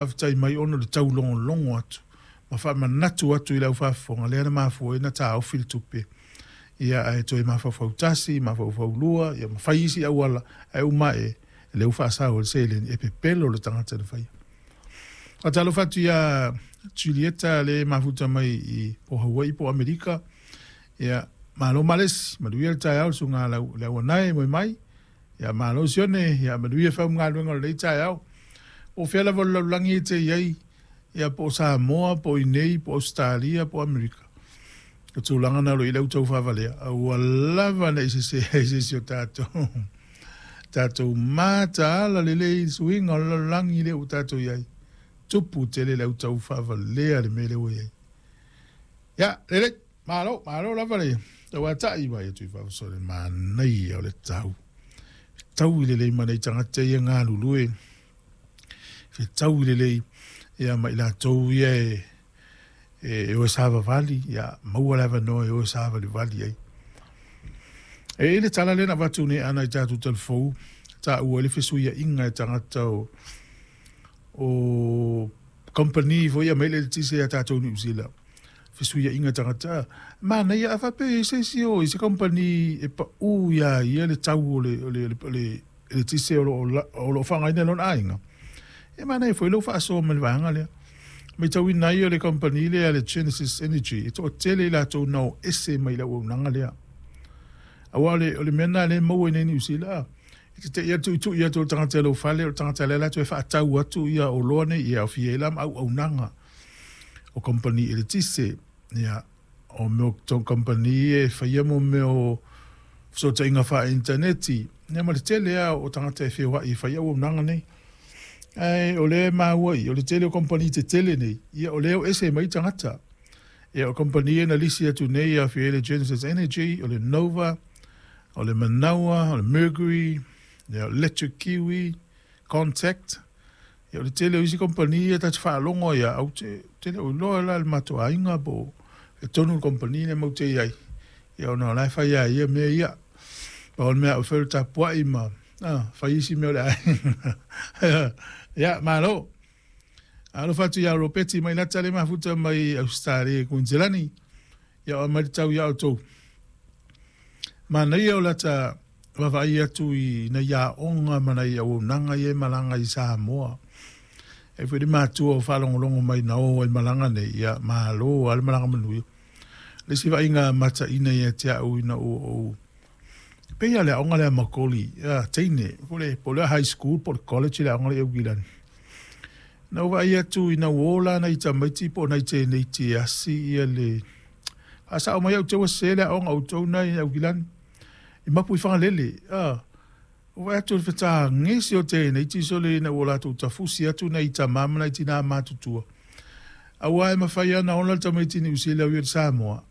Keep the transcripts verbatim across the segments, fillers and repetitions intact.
Faafetai mai ona o le taulogologo atu ma faamanatu atu i le aufaafofoga lea na mafua ai ona taofi le tupe, ia ae toe mafaufau tasi, mafaufau lua, ia ma fai isi auala, ae uma ae lea ua faasao ai le seleni e pepelo le tagata na faia. Faatalofa atu ia Julieta le mafuta mai i po Hawaii po Amerika. Ia, malo malesi, manuia le taeao le susuga le auanae moe mai. Ia malo Sione, ia manuia faumugaluega o lenei taeao. Po o fea lava o le lalolagi e te i ai, ia po o Samoa, po o inei, po o Ausetalia, po o Amerika. O tulaga na o lo o i ai le au taufaavalea, aua lava ne i sese ai se isi o tatou. Tatou mataala lelei i le suiga o le lalolagi lea ua tatou i ai. Tupu tele le au taufaavalea le mea lea ua i ai. Ia, lelei, malo, malo lava le tauatai mai atu i fafo le manaia o le tau. Fetaui lelei ma nai tagata ia galulue, fetaui lelei ia ma i latou ia e, e, e o e savavali, ia maua le avanoa e o e savalivali ai. E i le tala lea na avatu nei ana i tatou talafou, taua ai le fesuiaiga e tagata o, o kamupani foi ia mai le eletise ia tatou Niu Sila. Fesuiaiga tagata, manaia a faapea e i ai se isi o i se kamupani e pau ia ia le tau o le, o le, o le eletise o lo o, o faaaogaina e lona aiga. E manaia foi lou faasoa mai le vaega lea. Matauina ai o le kamupani lea le Genesis Energy, e toatele i latou na o ese mai le auaunaga lea. Aua o le, o le mea lena lea e maua i nei Niu Sila, e te tei atu tuitui atu o le tagata i lou fale, o le tagata lea la toe faatau atu ia oloa nei, ia aofia ai la ma auaunaga o kamupani eletise, ia, o mea o kamupani e faia mo mea o fesootaiga faa-initaneti, ia ma le tele lava o tagata e feoai e fai auaunaga nei. Ae o lea e maua i, o le tele o kamupani tetele nei, ia o lea o ese mai tagata. Ia o kamupani na lisi atu nei ia aofia ai le Genesis Energy, o le Nova, o le Manawa, o le Mercury, ia Electric Kiwi, Contact. Ia o le tele o isi kamupani ia ta te faalogo ai au te te le o iloa la le matou aiga po e tonu le kamupani lea matou te i ai. Ia ona o la e fai lava e ia mea ia. Pau o le mea au e fai o le tapuai ma ah, fai isi mea o le aiga. Ia, malo. Alofa atu ia Ropeti mai lata le mafuta mai Ausetalia i Kuiniselani. Ia o mai le tau ia outou. Manaia o lata vaavaai atu i nai aoga ma nai auaunaga ia e malaga i Samoa. E foi le matua o faalogologo mai na o ai malaga nei, ia malo lava le malaga manuia. Le isi vaaiga mataina ia te au ina ua ou pei lava o le aoga lea a Makoli, ia, teine, po o le, po o le high school po o le college le aoga lea i Aukilani. Na ou vaai atu ina ua o la nai tamaiti po o nai teneiti e asi ia le faasao mai au te ua sese le aoga a outou na i Aukilani. I mapu i Fagalele, ah, ua vaai atu i le fetagesi o teneiti sole ina ua latou tafusi atu nai tama ma nai tina matutua. Aua e mafai lava ona ola le tamaiti Niu Sila e ui i Samoa,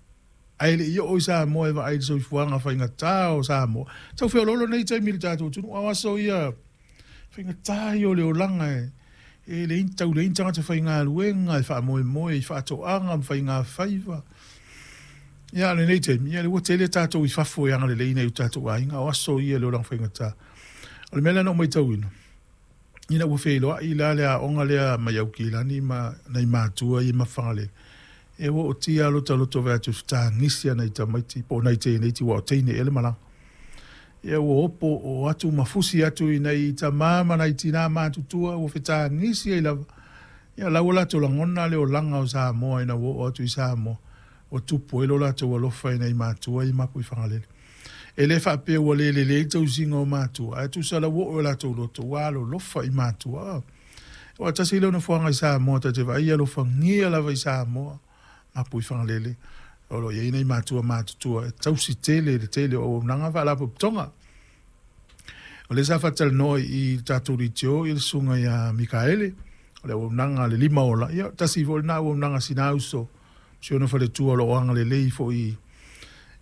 ae le i oo i Samoa e vaai i le soifuaga faigata o Samoa. Tau feoloolo nei taimi i le tatou atunuu, a o aso ia faigata ia o le olaga e, e leai tau leai ni tagata faigaluega e faamoemoe i faatoaga ma faigafaiva. Ia, a o lenei taimi, ia, ua tele tatou i fafo e agalelei nai o tatou aiga, o aso ia i le olaga faigata. O le mea lea na ou matauina, ina ua feiloai la le aoga lea mai Aukilani ma nai matua ia ma Fagalele, e ua ootia lava lota loto vaai atu i fetagisi a nai tamaiti po o nai teneiti aua o teine ea le malaga. Ia ua opo o atu ma fusi atu i nai tama ma nai tina matutua ua fetagisi ai lava. Ia la ua latou lagona le olaga o Samoa ina ua oo atu i Samoa, ua tupu ai lo latou alofa i nai matua ia mapu i Fagalele. E le faapea ua le lelei le tausiga o matua, ae tusa la ua oo i o latou loto, ua alolofa i matua. Aua tasi lea o nofoaga i Samoa ta te vaai e alofagia lava i Samoa, mapu i Fagalele, o lo o i ai nai matua matutua e tausi tele i le tele o auaunaga ma faalapotopotoga. O lea sa faatalanoa i le tatou leitio i le susuga ia Mikaele, o le auaunaga a le lima ola, ia tasi foi lena auaunaga a sina uso, si ona faletua o lo o agalelei foi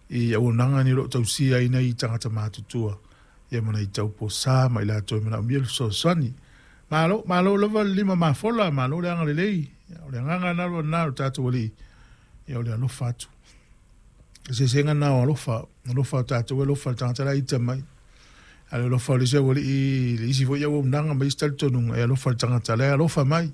i auaunaga nei o lo o tausia ai nai tagata matutua, ia ma nai tauposa ma i latou e manaomia le fesoasoani. Malo, malo lava le lima mafola, malo le agalelei. O le agaga lava lena o le tatou Alii, ia o le alofa atu. Le eseesega lena o alofa, alofa o tatou e alofa i le tagata la e ita mai. A o le alofa o le isi aualii i le isi foi auaunaga ma isi talitonuga, e alofa i le tagata la e alofa mai.